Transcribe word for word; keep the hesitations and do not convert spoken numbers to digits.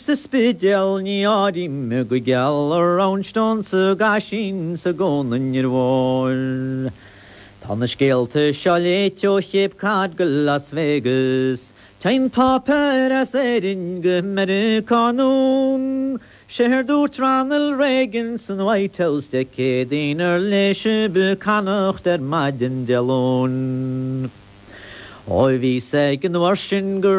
Sa Spidéal ní áirím go geal a Roundstone sa gCaisín sa gCo an Mhóir. Tá na scéalta seo léite ó Chape Cod go Las Vegas, Téann páipéir as Éirinn go Meiriceá anonn, Sé dúirt Ronald Reagan san White House Dé Céadaoin ar léigh sibh Connacht ar maidin Dé Luain. Ó bhí ag an uair sin go